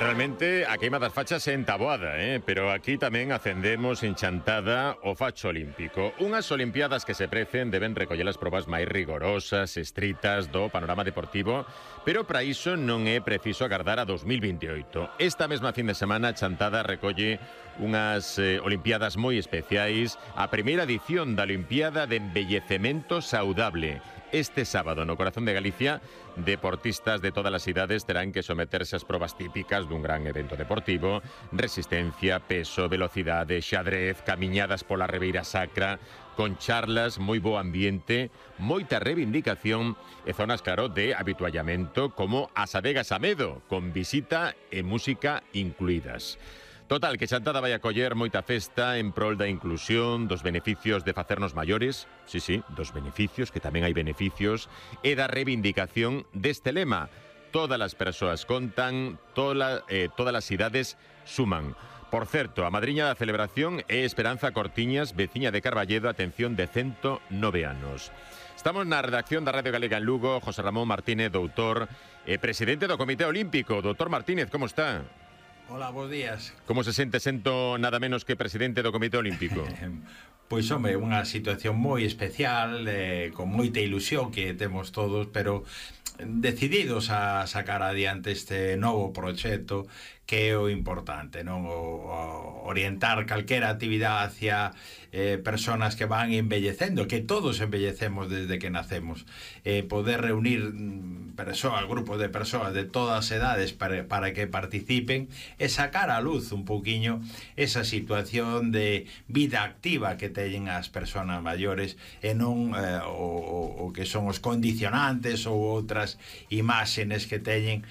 Realmente a queima das fachas é en Taboada, pero aquí tamén acendemos en Chantada o facho olímpico. Unhas olimpiadas que se precen deben recoller as probas máis rigorosas, estritas do panorama deportivo, pero para iso non é preciso agardar a 2028. Esta mesma fin de semana Chantada recolle unhas olimpiadas moi especiais, a primeira edición da Olimpiada de Embellecemento Saudable. Este sábado, no corazón de Galicia, deportistas de todas as idades terán que someterse ás probas típicas dun gran evento deportivo: resistencia, peso, velocidade, xadrez, camiñadas pola Ribeira Sacra, con charlas, moi bo ambiente, moita reivindicación e zonas, claro, de habituallamento como as adegas a Medo, con visita e música incluídas. Total, que Chantada vai acoller moita festa en prol da inclusión, dos beneficios de facernos maiores, sí, dos beneficios, que tamén hai beneficios, e da reivindicación deste lema: todas as persoas contan, todas as idades suman. Por certo, a madriña da celebración é Esperanza Cortiñas, veciña de Carballedo, atención, de 109 anos. Estamos na redacción da Radio Galega en Lugo. José Ramón Martínez, doutor e presidente do Comité Olímpico. Doutor Martínez, como está? Hola, bons días. Como se sente sendo nada menos que presidente do Comité Olímpico? Pois, home, unha situación moi especial, con moita ilusión que temos todos, pero decididos a sacar adiante este novo proxecto, que é o importante, non? O orientar calquera actividade hacia personas que van embellecendo, que todos embellecemos desde que nacemos, poder reunir grupos de persoas de todas as edades para que participen e sacar a luz un pouquiño esa situación de vida activa que teñen as persoas maiores e non o que son os condicionantes ou outras imaxenes que teñen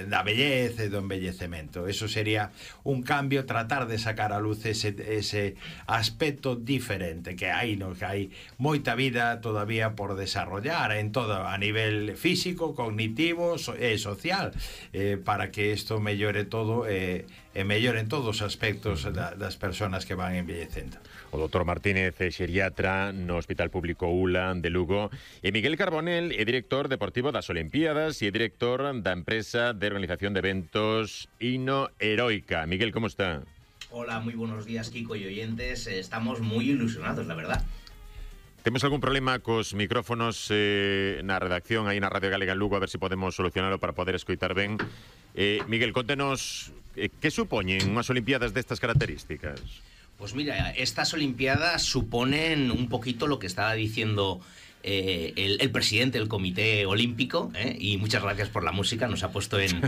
da belleza e do embellecemento. Eso sería un cambio, tratar de sacar a luz ese aspecto diferente que hai, no? Que hai moita vida todavía por desarrollar en todo, a nivel físico, cognitivo e social, para que isto mellore todo e melloren todos os aspectos das persoas que van envellecendo. O doutor Martínez é xeriatra no Hospital Público ULA de Lugo, e Miguel Carbonell é director deportivo das Olimpiadas e é director da empresa de organización de eventos Hino Heroica. Miguel, como está? Hola, muy buenos días, Kiko y oyentes. Estamos muy ilusionados, la verdad. Temos algún problema cos micrófonos na redacción aí na Radio Galega en Lugo, a ver se podemos solucionarlo para poder escoitar ben. Miguel, contenos que supoñen unhas Olimpiadas destas características. Pues mira, estas Olimpiadas suponen un poquito lo que estaba diciendo el presidente del Comité Olímpico, y muchas gracias por la música, nos ha puesto en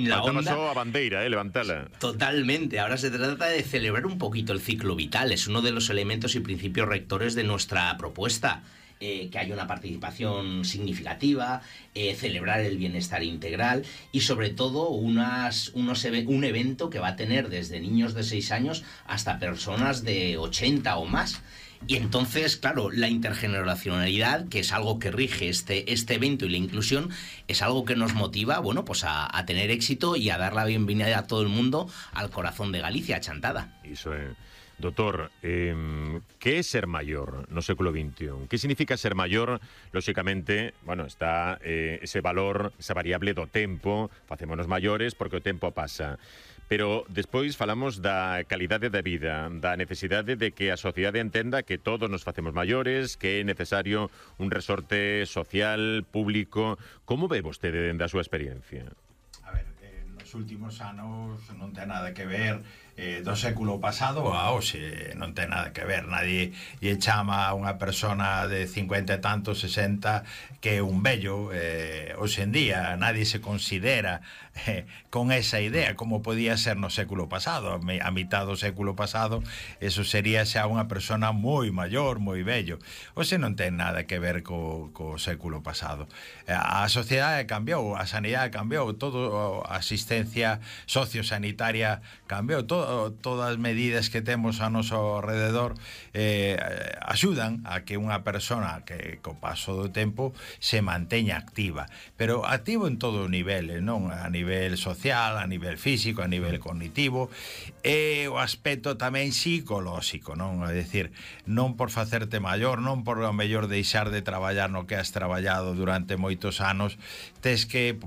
la onda. Faltaba a bandeira, levantala. Totalmente, ahora se trata de celebrar un poquito el ciclo vital, es uno de los elementos y principios rectores de nuestra propuesta. Que haya una participación significativa, celebrar el bienestar integral y sobre todo un evento que va a tener desde niños de 6 años hasta personas de 80 o más. Y entonces, claro, la intergeneracionalidad, que es algo que rige este evento, y la inclusión, es algo que nos motiva, bueno, pues a tener éxito y a dar la bienvenida a todo el mundo al corazón de Galicia, a Chantada. Iso é. Doutor, que é ser maior no século XXI? Que significa ser maior? Lóxicamente, bueno, está ese valor, esa variable do tempo, facémonos maiores porque o tempo pasa. Pero despois falamos da calidade da vida, da necesidade de que a sociedade entenda que todos nos facemos maiores, que é necesario un resorte social, público. Como ve vostede dende a súa experiencia? A ver, nos últimos anos non ten nada que ver do século pasado a hoxe, non ten nada que ver. Nadie lle chama a unha persona de 50 e tantos, 60 que é un vello. Hoxe en día nadie se considera con esa idea como podía ser no século pasado. A mitad do século pasado eso sería xa unha persona moi maior, moi vello. Hoxe non ten nada que ver co século pasado. A sociedade cambiou, a sanidade cambiou, todo a asistencia emerxencia sociosanitaria cambiou. Todas as medidas que temos a noso alrededor axudan a que unha persona que co paso do tempo se manteña activa, pero activo en todo o nivel, non? A nivel social, a nivel físico, a nivel cognitivo, e o aspecto tamén psicolóxico, non? É dicir, non por facerte maior, non por o mellor deixar de traballar no que has traballado durante moitos anos, tes que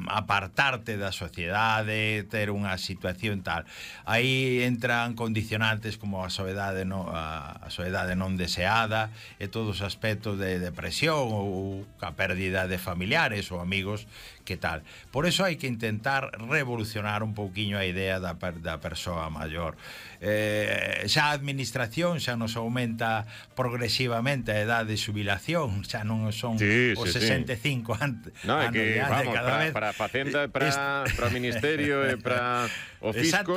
apartarte da sociedade, ter unha situación tal. Aí entran condicionantes como a soedade non deseada e todos os aspectos de depresión ou a pérdida de familiares ou amigos, que tal. Por eso hai que intentar revolucionar un pouquiño a idea da persoa maior. Xa a administración xa nos aumenta progresivamente a edade de xubilación, xa non son os 65 anos de idade cada vez. Para a Facenda, para o Ministerio e para o Fisco,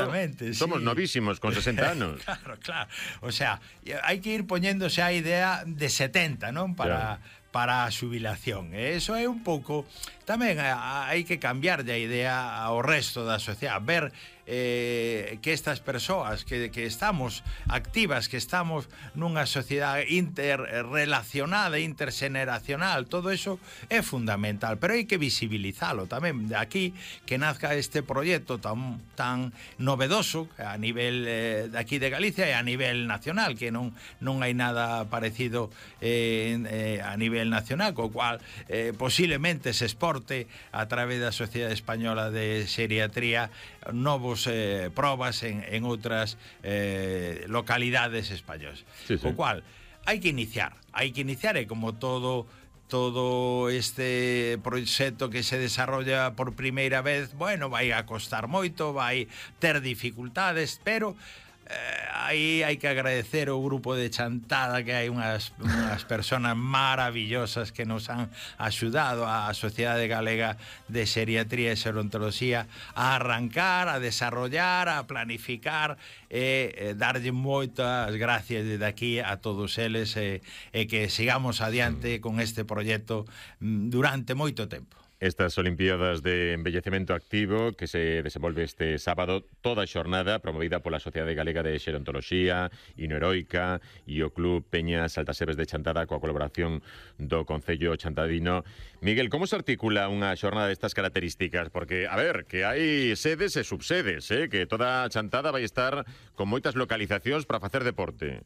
somos novísimos con 60 anos. Claro. O sea, hai que ir poñéndose a idea de 70, non? Para a xubilación. E iso é un pouco... Tamén hai que cambiar de idea ao resto da sociedade, ver que estas persoas que estamos activas, que estamos nunha sociedade interrelacionada, interxeneracional, todo eso é fundamental, pero hai que visibilizalo tamén. De aquí que nazca este proxecto tan novedoso a nivel de aquí de Galicia e a nivel nacional, que non hai nada parecido a nivel nacional, co cual posiblemente se exporte a través da Sociedade Española de Xeriatría novos probas en outras localidades españolas. Co cual hai que iniciar e como todo este proxecto que se desarrolla por primeira vez, bueno, vai a costar moito, vai ter dificultades, pero aí hai que agradecer ao grupo de Chantada, que hai unhas persoas maravillosas que nos han axudado a Sociedade Galega de Xeriatría e Xerontoloxía a arrancar, a desarrollar, a planificar e darlle moitas gracias desde aquí a todos eles e que sigamos adiante con este proxecto durante moito tempo. Estas Olimpiadas de Envellecemento Activo que se desenvolve este sábado, toda a xornada promovida pola Sociedade Galega de Xerontoloxía, Inoheroica e o Club Peñas Altaseves de Chantada coa colaboración do Concello Chantadino. Miguel, como se articula unha xornada destas características? Porque, a ver, que hai sedes e subsedes, que toda a Chantada vai estar con moitas localizacións para facer deporte.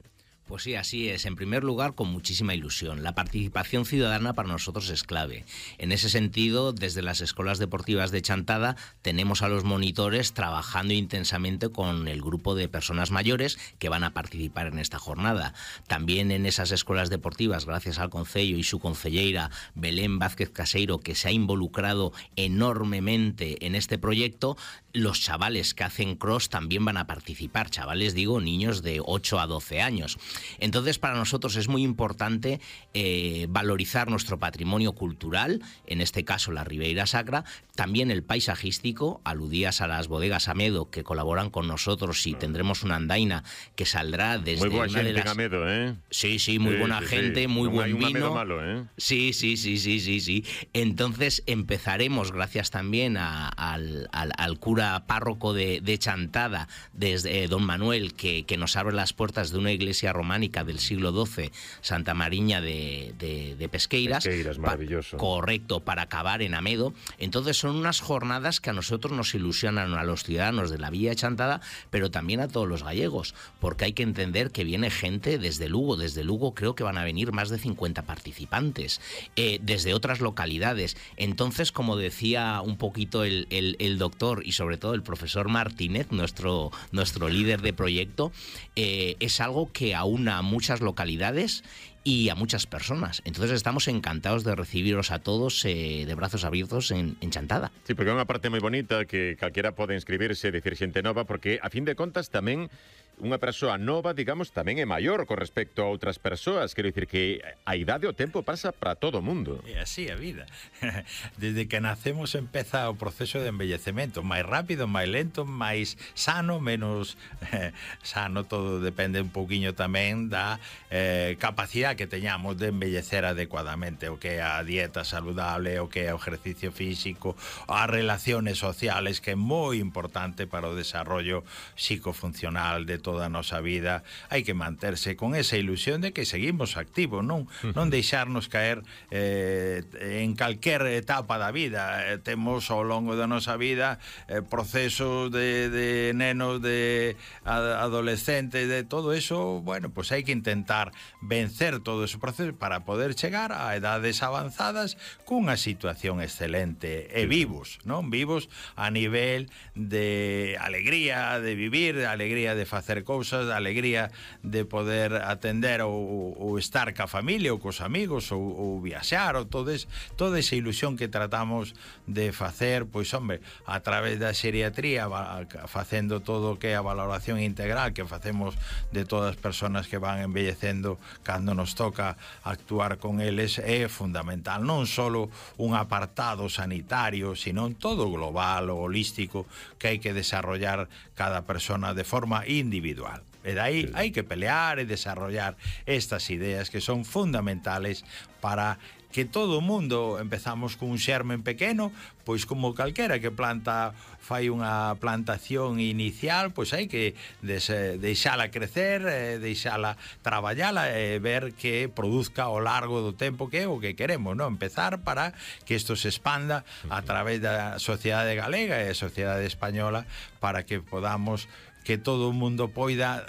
Pues sí, así es. En primer lugar, con muchísima ilusión. La participación ciudadana para nosotros es clave. En ese sentido, desde las escuelas deportivas de Chantada tenemos a los monitores trabajando intensamente con el grupo de personas mayores que van a participar en esta jornada. También en esas escuelas deportivas, gracias al Concello y su concelleira Belén Vázquez Caseiro, que se ha involucrado enormemente en este proyecto, los chavales que hacen cross también van a participar. Chavales, digo, niños de 8 a 12 años. Entonces, para nosotros es muy importante valorizar nuestro patrimonio cultural, en este caso la Ribeira Sacra, también el paisajístico. Aludías a las bodegas Amedo, que colaboran con nosotros, y tendremos una andaina que saldrá desde muy buena una de las... en Amedo, Sí, muy buena gente, muy no buen hay un vino. Amedo malo, Sí. Entonces empezaremos, gracias también al cura párroco de Chantada, desde don Manuel, que nos abre las puertas de una iglesia románica del siglo XII, Santa Mariña de Pesqueiras. Pesqueiras, maravilloso. Correcto, para acabar en Amedo. Entonces son unas jornadas que a nosotros nos ilusionan, a los ciudadanos de la Villa de Chantada, pero también a todos los gallegos, porque hay que entender que viene gente desde Lugo. Desde Lugo creo que van a venir más de 50 participantes, desde otras localidades. Entonces, como decía un poquito el doctor y sobre todo el profesor Martínez, nuestro líder de proyecto, es algo que aúna a muchas localidades y a muchas personas. Entonces estamos encantados de recibiros a todos de brazos abiertos en Chantada. Sí, porque é unha parte moi bonita que calquera pode inscribirse, decir xente nova, porque a fin de contas tamén unha persoa nova, digamos, tamén é maior con respecto a outras persoas. Quero dicir que a idade o tempo pasa para todo o mundo. É así a vida. Desde que nacemos empeza o proceso de envellecemento, máis rápido, máis lento, máis sano, menos sano, todo depende un pouquiño tamén da capacidade que teñamos de envellecer adecuadamente, o que é a dieta saludable, o que é o ejercicio físico, as relaciones sociales, que é moi importante para o desarrollo psicofuncional de toda a nosa vida. Hai que manterse con esa ilusión de que seguimos activos, non deixarnos caer en calquer etapa da vida. Temos ao longo da nosa vida procesos de nenos, de adolescentes, de todo eso. Bueno, pues hai que intentar vencer todo ese proceso para poder chegar a edades avanzadas cunha situación excelente e vivos, non? Vivos a nivel de alegría de vivir, de alegría de facer cousas, de alegría de poder atender ou estar ca familia ou cos amigos ou viaxar, ou toda esa ilusión que tratamos de facer, pois, hombre, a través da xeriatría, facendo todo o que é a valoración integral que facemos de todas as persoas que van envellecendo cando nos toca actuar con eles, é fundamental. Non só un apartado sanitario, sino todo global ou holístico que hai que desarrollar cada persona de forma individual. E dai hai que pelear e desarrollar estas ideas que son fundamentales para que todo o mundo empezamos cun xermen pequeno, pois como calquera que planta fai unha plantación inicial, pois hai que deixala crecer, deixala traballala e ver que produzca ao largo do tempo, que é o que queremos, non? Empezar para que isto se expanda a través da sociedade galega e a sociedade española, para que podamos que todo o mundo poida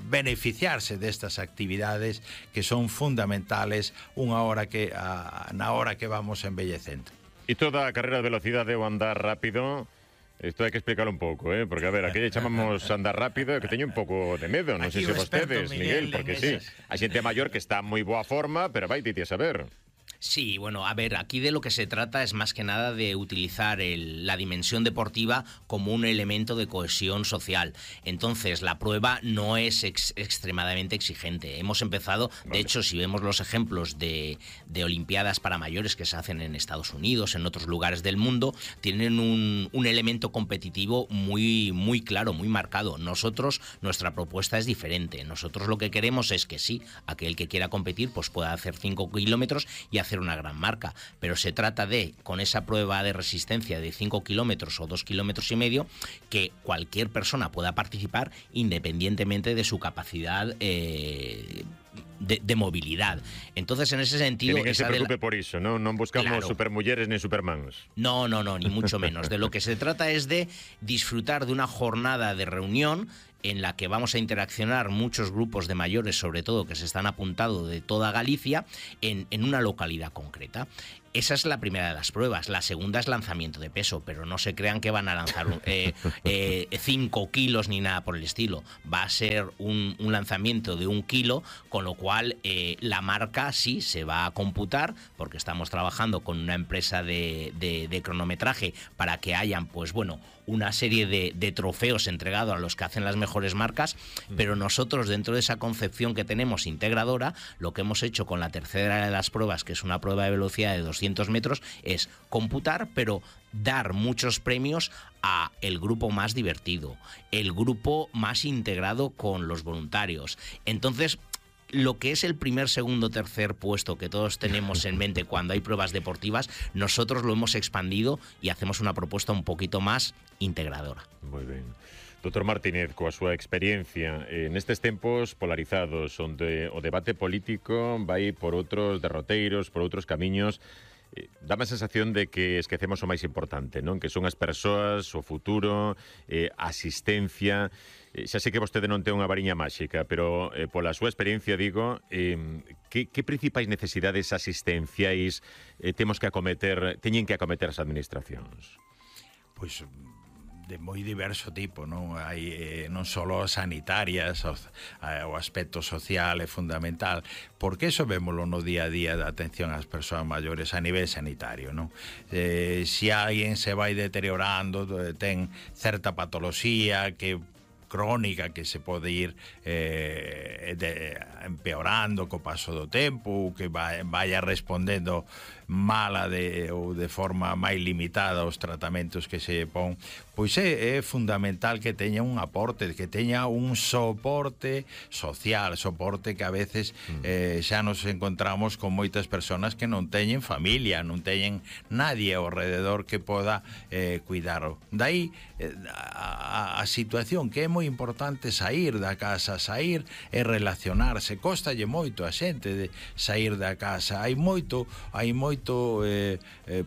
beneficiarse destas actividades que son fundamentales na hora que vamos envellecendo. E toda a carreira de velocidade ou andar rápido, isto hai que explicarlo un pouco, porque, a ver, aquí chamamos andar rápido, que teño un pouco de medo, non sei se vostedes, Miguel, porque sí, hai xente maior que está en moi boa forma, pero vai a saber. Sí, bueno, a ver, aquí de lo que se trata es más que nada de utilizar la dimensión deportiva como un elemento de cohesión social. Entonces, la prueba no es extremadamente exigente. Hemos empezado, de hecho, si vemos los ejemplos de Olimpiadas para mayores que se hacen en Estados Unidos, en otros lugares del mundo, tienen un elemento competitivo muy, muy claro, muy marcado. Nosotros, nuestra propuesta es diferente. Nosotros lo que queremos es que sí, aquel que quiera competir, pues pueda hacer 5 kilómetros y hacer una gran marca, pero se trata de, con esa prueba de resistencia de 5 kilómetros o 2,5 kilómetros, que cualquier persona pueda participar independientemente de su capacidad de movilidad. Entonces, en ese sentido... Que ninguén se preocupe por iso, non buscamos supermulleres ni supermans. No, ni mucho menos. De lo que se trata es de disfrutar de una jornada de reunión en la que vamos a interaccionar muchos grupos de mayores, sobre todo, que se están apuntando de toda Galicia, en una localidad concreta. Esa es la primera de las pruebas. La segunda es lanzamiento de peso, pero no se crean que van a lanzar 5 kilos ni nada por el estilo. Va a ser un lanzamiento de 1 kilo, con lo cual la marca sí se va a computar, porque estamos trabajando con una empresa de cronometraje para que hayan, pues bueno, una serie de trofeos entregados a los que hacen las mejores marcas, pero nosotros, dentro de esa concepción que tenemos integradora, lo que hemos hecho con la tercera de las pruebas, que es una prueba de velocidad de 200 metros, es computar, pero dar muchos premios a el grupo más divertido, el grupo más integrado con los voluntarios. Entonces, lo que es el primer, segundo, tercer puesto que todos tenemos en mente cuando hay pruebas deportivas, nosotros lo hemos expandido y hacemos una propuesta un poquito más integradora. Moi ben. Dr. Martínez, coa súa experiencia nestes tempos polarizados, onde o debate político vai por outros derroteiros, por outros camiños, dame a sensación de que esquecemos o máis importante, non? Que son as persoas, o futuro, a asistencia. Xa sei que vostede non ten unha variña máxica, pero pola súa experiencia, digo, que principais necesidades asistenciais teñen que acometer as administracións? Pois de moi diverso tipo, non? Hai non só sanitarias, o aspecto social é fundamental, porque eso vémolo no día a día da atención ás persoas maiores a nivel sanitario, non? Se alguén se vai deteriorando, ten certa patoloxía que crónica que se pode ir empeorando co paso do tempo, que vaya respondendo mala ou de forma máis limitada aos tratamentos que se pon, pois é fundamental que teña un aporte, que teña un soporte social, soporte que a veces xa nos encontramos con moitas persoas que non teñen familia, non teñen nadie ao rededor que poda cuidaro. Daí a situación que é moi importante sair da casa, sair e relacionarse. Costalle moito a xente de sair da casa. Hai moito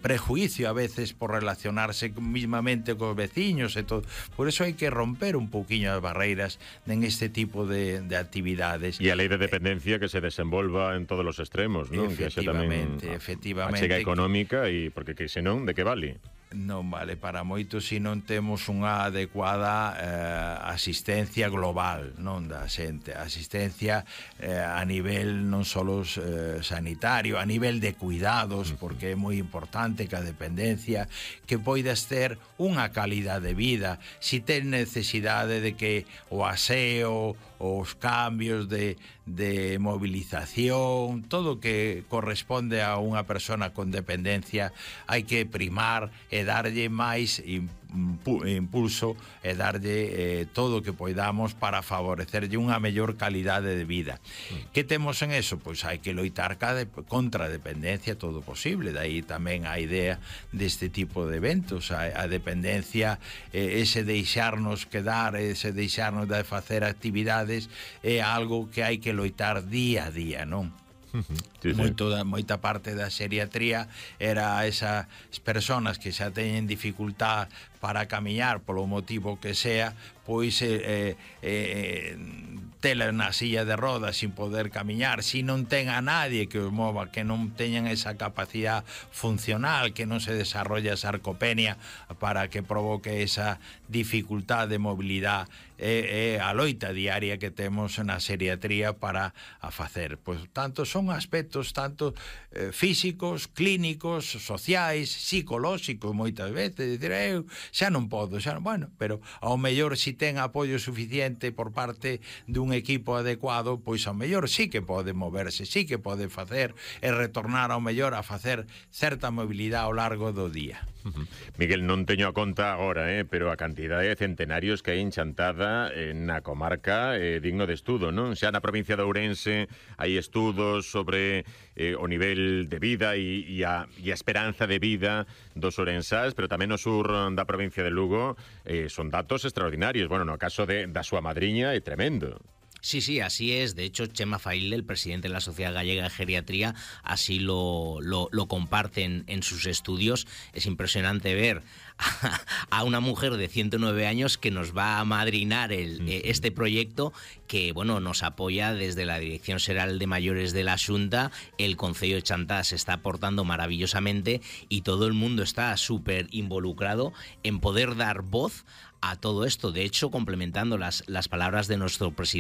prejuicio a veces por relacionarse mismamente cos veciños e todo. Por eso hai que romper un pouquiño as barreiras en este tipo de actividades. E a lei de dependencia que se desenvolva en todos os extremos, non? Efectivamente. A chega económica, e porque que senón, de que vale? Non vale para moito se non temos unha adecuada asistencia global, non da xente, asistencia a nivel non só sanitario, a nivel de cuidados, porque é moi importante que a dependencia que poidas ter unha calidade de vida, si ten necesidade de que o aseo, os cambios de movilización, todo que corresponde a unha persona con dependencia, hai que primar e darlle máis impulso e darlle todo o que poidamos para favorecerlle unha mellor calidade de vida. Que temos en eso? Pois hai que loitar contra a dependencia todo posible. Daí tamén a idea deste tipo de eventos. A dependencia, ese deixarnos quedar, ese deixarnos de facer actividades é algo que hai que loitar día a día, non? Sí. Moita parte da xeriatría era esas personas que xa teñen dificultad para camiñar polo motivo que sea, pois tela na silla de rodas sin poder camiñar, si non ten a nadie que os mova, que non teñan esa capacidade funcional, que non se desarrolla a sarcopenia para que provoque esa dificultad de mobilidade, a loita diaria que temos na xeriatría para a facer. Pois tanto son aspectos tanto físicos, clínicos, sociais, psicolóxicos moitas veces, dicir, eu xa non podo, bueno, pero ao mellor si ten apoio suficiente por parte dun equipo adecuado, pois ao mellor sí que pode moverse, sí que pode facer e retornar ao mellor a facer certa mobilidade ao largo do día. Miguel, non teño a conta agora, pero a cantidade de centenarios que hai en Chantada na comarca digno de estudo, non? Xa na provincia de Ourense hai estudos sobre o nivel de vida e a esperanza de vida dos ourensás, pero tamén no sur da provincia de Lugo son datos extraordinarios. Bueno, no caso da súa madriña é tremendo. Sí, así es. De hecho, Chema Faile, el presidente de la Sociedad Gallega de Geriatría, así lo comparte en sus estudios. Es impresionante ver a una mujer de 109 años que nos va a madrinar este proyecto que, bueno, nos apoya desde la Dirección Xeral de Mayores de la Xunta. El Concello de Chantada se está aportando maravillosamente y todo el mundo está súper involucrado en poder dar voz a todo esto. De hecho, complementando las palabras de nuestro presidente,